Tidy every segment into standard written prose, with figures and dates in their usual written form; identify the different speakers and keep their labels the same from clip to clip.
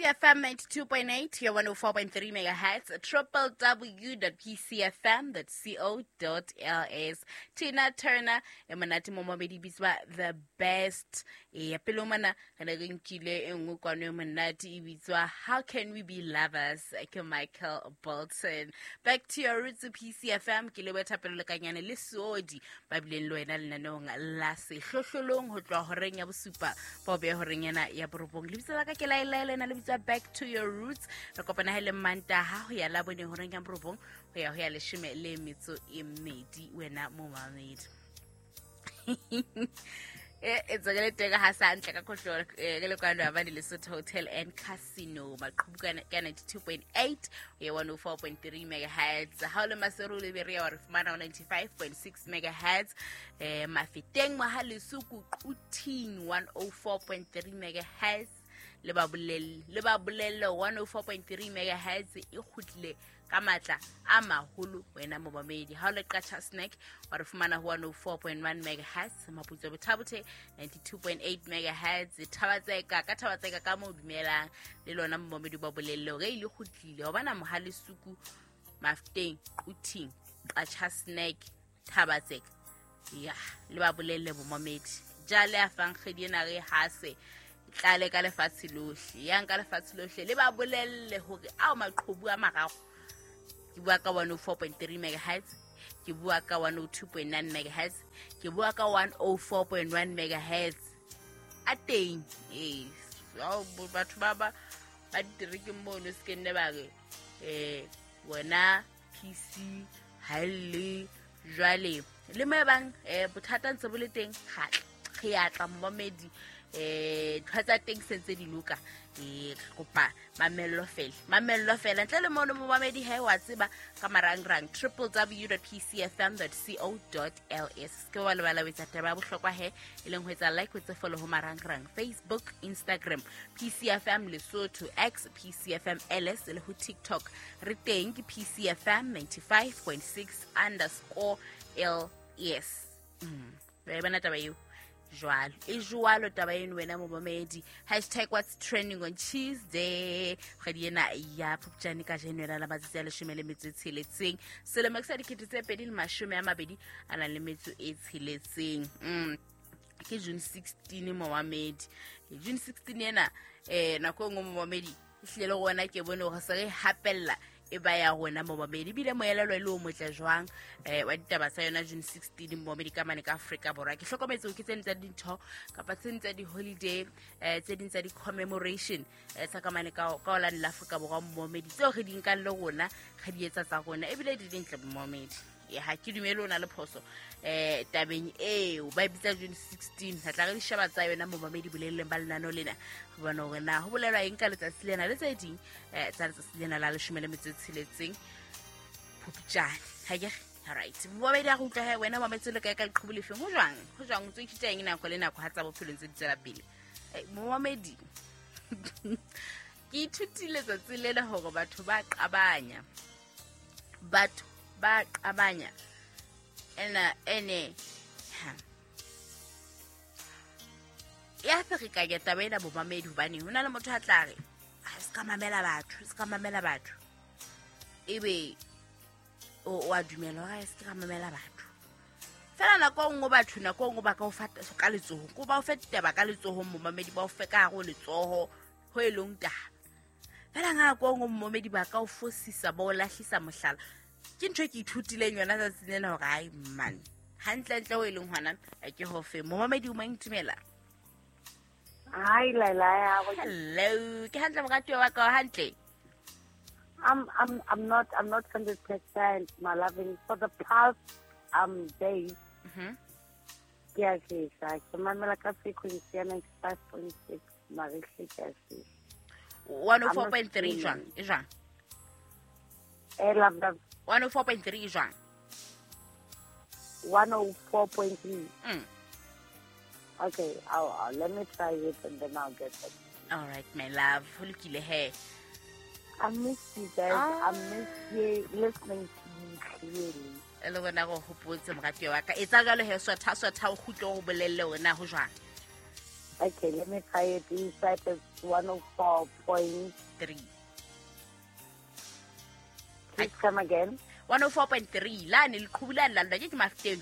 Speaker 1: PCFM 92.8, your 104.3 megahertz, www.pcfm.co.ls. Tina Turner, e monate mo mabedi bitswa The Best. E ya pele mona re ne re nkile e nngwe kwano e monate e bitswa How Can We Be Lovers ke Michael Bolton. Back to your roots, PCFM, ke leboha Thapelo Lekanyane le Seodi ba bileng le wena lenaneong la sehlohlolong ho tloha horeng ya bosupa ba o beha horeng ena ya borobong. Lebitso la ka ke laelaela ena le bitswa Back to Your Roots. Re kopana he le Mantaha ho ya Labone horeng ya borobong ho ya ho ya 12:30 wena momamedi. E tswakele teng ha sa ntle ka khohlo ke le kwano ya bane Lesotho Hotel and Casino maqhubu ka 92.8 ho ya 104.3 megahertz. Ha o le Maseru le Berea wa re fumana ho 95.6 megahertz. Mafeteng Mohaleso Quthing 104.3 megahertz. Le ba bolelle, le ba bolelle 104.3 megahertz e kgutlile ka matla a maholo wena momamedi. Ha o le Qacha Snack wa re fumana ho 104.1 megahertz, Maputso Bothabothe 92.8 megahertz, Thabatseka ka Thabatseka ka mo dumelang le lona momamedi ba bolelle hore e le kgutlile hobana Mohalesuku Mafeteng Quthing Qacha Snack Thabatseka ya le ba bolelle momamedi. Jale a fang kgwedi ena re hase tlale ka lefatshe lohle, yang ka lefatshe lohle le ba bolelle hore ao maqhubu a mararo. Ke bua ka 104.3 megahertz, ke bua ka 102.9 megahertz, ke bua ka 104.1 megahertz. A teng batho ba ba ba diterekeng mono se ke nne ba re wena PC ha e le jwale le mo e bang bothata ntse bo le teng ga re ya tla momamedi ntho tsa teng se ntse di loka. Re kopa mamello fela, mamello fela ntle le mono momamedi he wa tseba ka marangrang www.pcfm.co.ls. Ke wa lebala ho etsa taba ya bohlokwa he e leng ho etsa like, ho etsa follow ho marangrang Facebook, Instagram PCFM Lesotho, X PCFM LS le ho TikTok re teng ke PCFM 95.6 underscore LS. Ba e bona taba eo jwalo e jwalo taba eno wena momamedi. Hashtag what's trending on Tuesday kgwedi ena ya Phupjane ka jeno la matsatsi a 16 selemo sa 2026. Ke June 16 momamedi. June 16 ena nako e nngwe momamedi ehlile le rona ke bone hore se re hapella e ba ya rona momamedi. Ebile moelelo e le o motle jwang wa ditaba tsa yona June 16 momamedi ka mane ka Afrika Borwa. Ke hlokometse hore ke tse ding tsa dintho kapa tse ding tsa di-holiday tse ding tsa di-commemoration tsa ka mane ka holane la Afrika Borwa momamedi tseo re di nkang le rona re di etsa tsa rona ebile di dintle momamedi. Ha ke dumele o na le phoso tabeng eo ba e bitsa June 16. Re tla re di sheba tsa yona momamedi bolelleng ba lenaneo lena ho bona hore na ho bolelwa eng ka letsatsi lena le tse ding tsa letsatsi lena la 16 Phupjane. Ha ke re right momamedi a re utlwa he wena mametse le kae ka leqhubu lefeng ho jwang ho jwang o ntso ithuta eng nako le nako ha tsa bophelo ntse di tswela pele. Momamedi ke ithutile tsatsi lena hore batho ba qabanya, batho ba qabanya ena ene ya ferekanya taba ena bomamedi hobane ho na le motho a tla re a se ka mamela batho, se ka mamela batho ebe o a dumela hore a se ka mamela batho fela nako e nngwe batho nako e nngwe ba ka o fa ka letsoho ko ba o fe ditaba ka letsohong momamedi ba o fe ka hare ho letsoho ho e leng taba fela nako e nngwe momamedi ba ka o fosisa ba o lahlisa mohlala. Ke ntho e ke ithutileng yona tsatsing lena hore ai man hantlentle ho e leng hona ke hofe momamedi o mang ntumela.
Speaker 2: Hi Laila.
Speaker 1: Hello, ke hantle moratuwa wa ka hantle.
Speaker 2: I'm not 100% my loving for the past days. Ke a shesa ke mamela ka frequency ya 95.6 mare ke a shesa
Speaker 1: 104.3 jwang e jwang
Speaker 2: love love
Speaker 1: 104.3 jwang
Speaker 2: 104.3. Okay, I'll let me try it and then I'll get back.
Speaker 1: All right, my love. Ho lokile he.
Speaker 2: I miss you guys. I miss you listening to you clearly.
Speaker 1: E le rona go hopotse moratuwa wa ka. Etsa jwalo he swatha swatha o kgutle ho bolelle hore na ho jwang.
Speaker 2: Okay, let me try it. Inside is 104.3. Please come again.
Speaker 1: 104.3. La ne leqhubu la ke Mafeteng.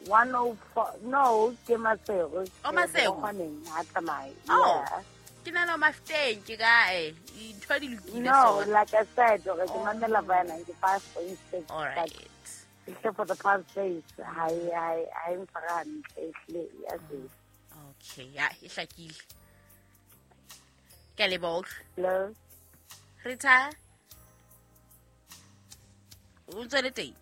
Speaker 2: 104. No, ke Maseru.
Speaker 1: Oh, Maseru.
Speaker 2: Ha tsamaye.
Speaker 1: Oh. Ke na le Mafeteng ke kae? Dintho di lokile.
Speaker 2: No, like I said, ke mamela via 95.6.
Speaker 1: All right.
Speaker 2: Except for the past days, I am yes.
Speaker 1: Okay, ya e hlakile. Ke a leboha.
Speaker 2: Hello.
Speaker 1: Rita. O ntse le teng?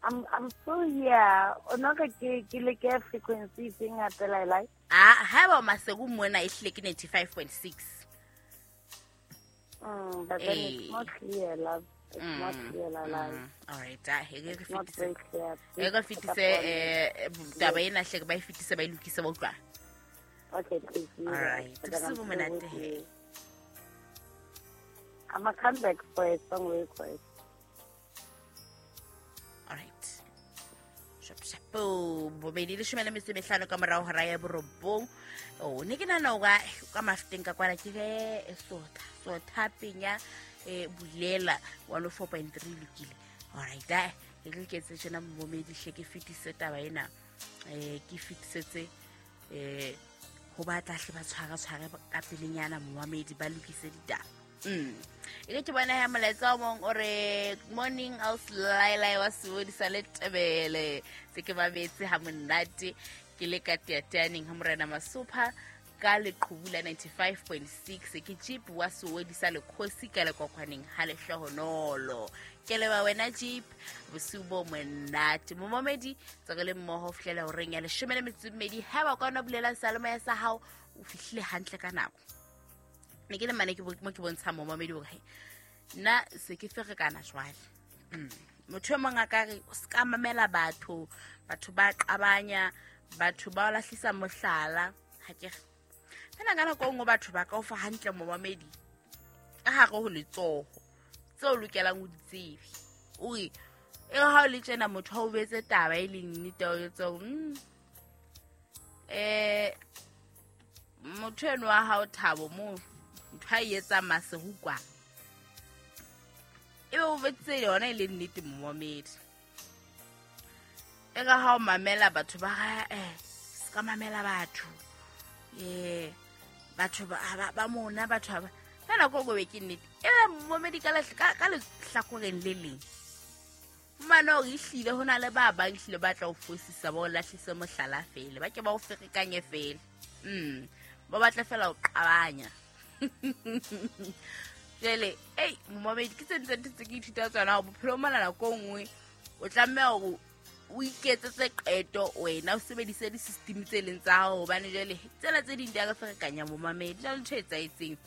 Speaker 2: I'm still here. O no ke le ke frequency thing at the like.
Speaker 1: Ah, ha ba Maseru mona e hlile ke 95.6.
Speaker 2: But then it's not clear, love. It's not clear, love.
Speaker 1: All right, e re fetise. E re fetise taba ena hle ke ba e fetise ba e lokise ba utlwa.
Speaker 2: Okay, please.
Speaker 1: All right. Se bo monate he.
Speaker 2: I'm a come back for a song request.
Speaker 1: All right. Shapo bobedi 15 ka morao hora ya 9. O ne ke nana o ka Mafeteng ka kwana ke ge sotha penya bulela 104.3 lokile. All right, ke re ke tse tjena momedi hle ke fetise taba ena. Ke fetisetse ho batla hle ba tshwara ka pelenyana momedi ba lokise ditaba. E ke bona ya molaetsa o mong o re morning house laila wa sebodisa le tebele se ke babetse ha monate ke le ka teateaneng ha morena Masopha ka leqhubu la 95.6 ke jeep wa sebodisa le khosi ka lekokwaneng ha lehlohonolo. Ke leba wena jeep bosiu bo monate momomedi tsaka le mmoho fihlela horeng ya 12 ha ba kona bulela saloma ya sa hao o fihlile hantle ka nako. Ne ke le mane ke mo ke bontsha momamedi hore nna se ke ferekana jwale. Motho e mong a ka re o ska mamela batho, batho ba qabanya, batho ba lahlisa mohlala, ha ke re. Fela ka nako nngwe batho ba ka o fa hantle momamedi ka hare ho letsoho tseo o lokelang o di tsebe. O re e ha o le tjena motho ha o betse taba e leng nnete o etsa motho eno wa hao Thabo mo ntho a etsa Maseru kwa ebe o betse yona e le nnete momamedi. E ka ha o mamela batho ba se ka mamela batho batho ba mona batho ba ka nako go be ke nnete ebe momamedi ka lehlakoreng le leng mano o ihlile ho na le ba bang hlile ba tla o fosisa ba o lahlise mohlala fele ba ke ba o ferekanye fele. Ba batla fela o qabanya. Jele, ei, momamedi ke tse ntse ke ithuta tsona bophelo mona nako nngwe o tlameha hore o iketsetse qeto wena o sebedise di-system tse leng tsa hao hobane jwale tsela tse ding di a ka ferekanya momamedi jwale ntho e etsahetseng.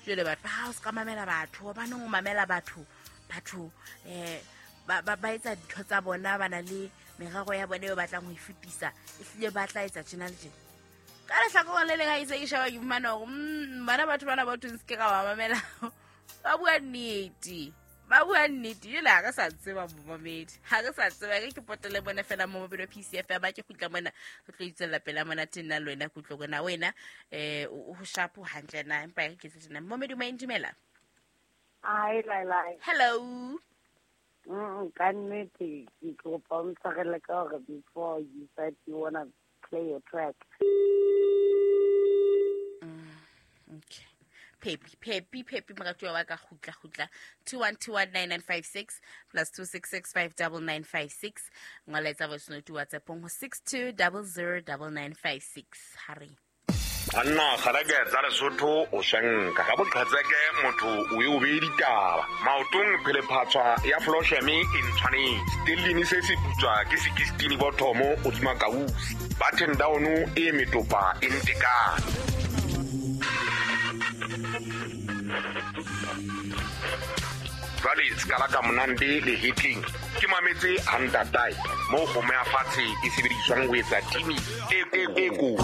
Speaker 1: Jwale batho ha o ska mamela batho hobaneng o mamela batho batho ba etsa dintho tsa bona ba na le merero ya bona eo batlang ho e fetisa ehlile ba tla etsa tjena le tjena. Ka lehlakoreng le leng ha ise ke sheba ke fumana hore bana batho bana ba thong se ke ka ba mamela ba bua nnete. Ba bua nnete jwale ha re sa tseba momamedi ha re sa tseba ke potele bona fela momamedi wa PCF ba ke kgutla mona re tlo itswella pela mona tena le wena kutlo kona wena o shapo hantle na empa ke tse tjena momamedi o dumela.
Speaker 2: Ai lai.
Speaker 1: Hello.
Speaker 2: Ka nnete ke kopa o ntshwarele ka hore before you said you wanna play a track.
Speaker 1: Okay. Pepi moratuwa wa ka kgutla 21219956 plus 266599956 ngola voice note WhatsApp ho 62009956 hare.
Speaker 3: Anna kgareke tsa Lesotho o shanka ka boqhetseke motho o e o be ditaba maotong phelephatswa ya flosheme e ntshwanetse stellini se se putswa ke 16 bothomo o dima kausi button down e metopa e ntekane. Jwale skala ka monande le hitling ke mametse hantatai mo go meya fatshe e sebediswang ho etsa timi e ko.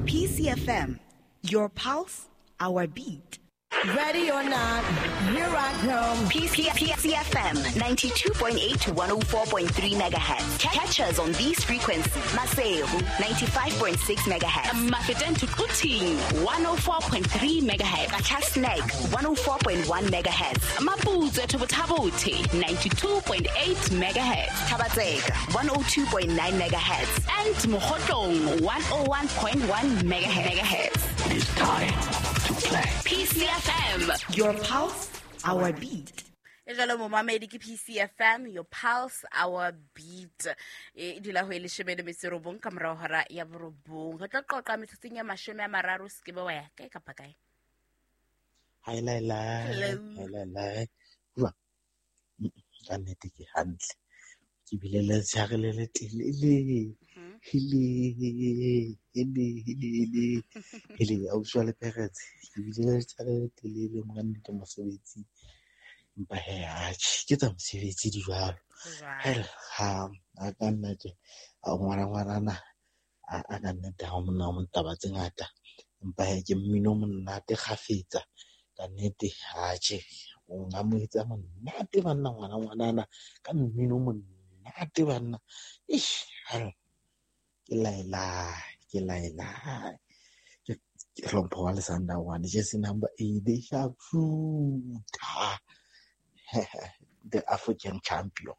Speaker 4: PCFM, your pulse, our beat. Ready or not, here I come.
Speaker 5: PCFM 92.8 to 104.3 megahertz. Catch us on these frequencies. Maseru 95.6 megahertz.
Speaker 1: Mafeteng to Quthing 104.3 megahertz.
Speaker 5: Qacha's Nek 104.1 megahertz.
Speaker 1: Maputswe to Botha-Bothe 92.8 megahertz.
Speaker 5: Thaba-Tseka 102.9 megahertz.
Speaker 1: And Mokhotlong 101.1 megahertz.
Speaker 6: It is time to play.
Speaker 1: PCFM.
Speaker 4: Your pulse, our beat.
Speaker 1: E jalo momamedi ke PCFM, your pulse, our beat. E dula ho e leshome le metso e robong ka morao hora ya borobong. Re tlo qoqa metsotsong ya 30, se ke be wa ya kae kapa kae.
Speaker 7: Hi, lai, lai.
Speaker 1: Hello.
Speaker 7: Hi, lai, lai. Bua. Ka nnete ke hantle. Ke bile le letshehare le letelele. Hele, hele, hele, hele. Hele, ausi wa Leperetse. Ke bile le letshehare le letelele monga nnete mosebetsing. Empa he, atjhe, ke tsa mosebetsi di jwalo. Hela, ha a ka nna tje, a ngwana ngwanana, a ka nnete ha monna o taba tse ngata. Empa he, ke mmino o monate kgafetsa. Ka nnete, atjhe, o nka mo etsa monate banna ngwana ngwanana ka mmino o monate banna. Eish, hela, ke laela, ke laela. Ke hlompho wa Lesanda one, jersey number 8, the sharpshooter. The African champion.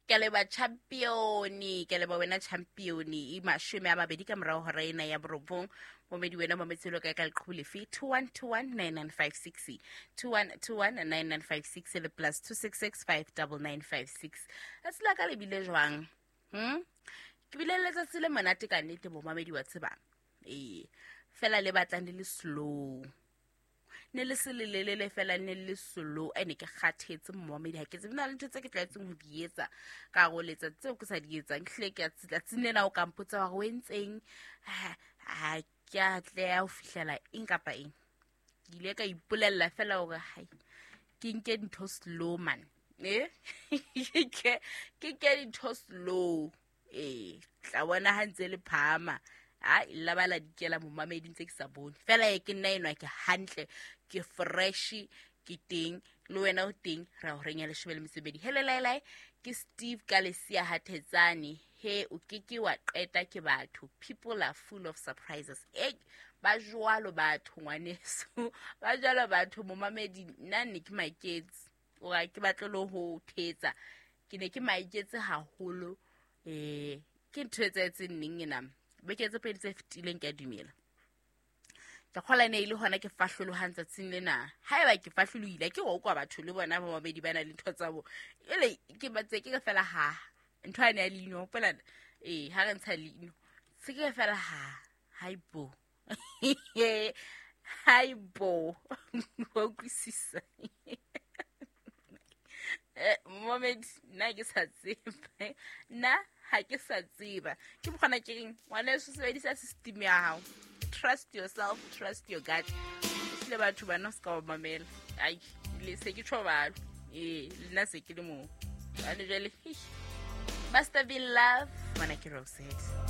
Speaker 1: Ke leba champion, ke leba wena champion e 20 ka morao hora ena ya borobong. Momedi wena mametselo ka ka leqhubu lefe 21219956 21219956 le plus 266599956. Tsatsi la ka le bile jwang? Ke bile le letsatsi le monate ka nnete bo mamedi wa tsebang. Ee, fela le batlang le le slow. Ne le se lelelele fela ne le slow, ene ke kgathetse momamedi ha ke tsebe na le ntho tse ke tlwaetseng ho di etsa ka go letsatsi tseo ke sa di etsang. Hlile ke a tsatsing lena o ka mpotsa hore o entseng, ha ke a tleha ho fihlela eng kapa eng. Ke ile ka ipolella fela hore hai, ke nke dintho slow man. Ke nke dintho slow. Tla bona ha ntse le phahama. Ha la bala dikela momamedi ntse ke sa bone. Fela e ke nna enwa ke hantle, ke fresh, ke teng, le wena o teng, ra o renya 12. Hele lai lai, ke Steve ka lesia Hathetsane. He o ke ke wa qeta ke batho. People are full of surprises. Ba jwalo batho ngwaneso. Ba jwalo batho momamedi, nna ne ke maiketse. O ga ke batle le ho thetsa. Ke ne ke maiketse haholo. Ke ntho e etsahetseng neng ena? Beke tse pedi tse fetileng ke a dumela. Ke kgola ne e le hona ke fahlolohang tsatsing lena. Haeba ke fahlolohile, ke ho kwa batho le bona ba babedi ba na le ntho tsa bo. Ele ke batse ke fela ha ntho ane ya leino, hopola ha re ntsha leino. Se ke fela ha, haibo. Haibo. Wa utlwisisa. Moment nna ke sa tseba. Nna ha ke sa tseba. Ke mokgona ke reng, ngwaneso sebedisa system ya hao. Trust yourself, trust your gut. Ehlile batho bana o ska ba mamela. Ai, le se ke tjho balo. Le nna se ke le moo. Jwale jwale, Master V Love, ngwana ke Rosette.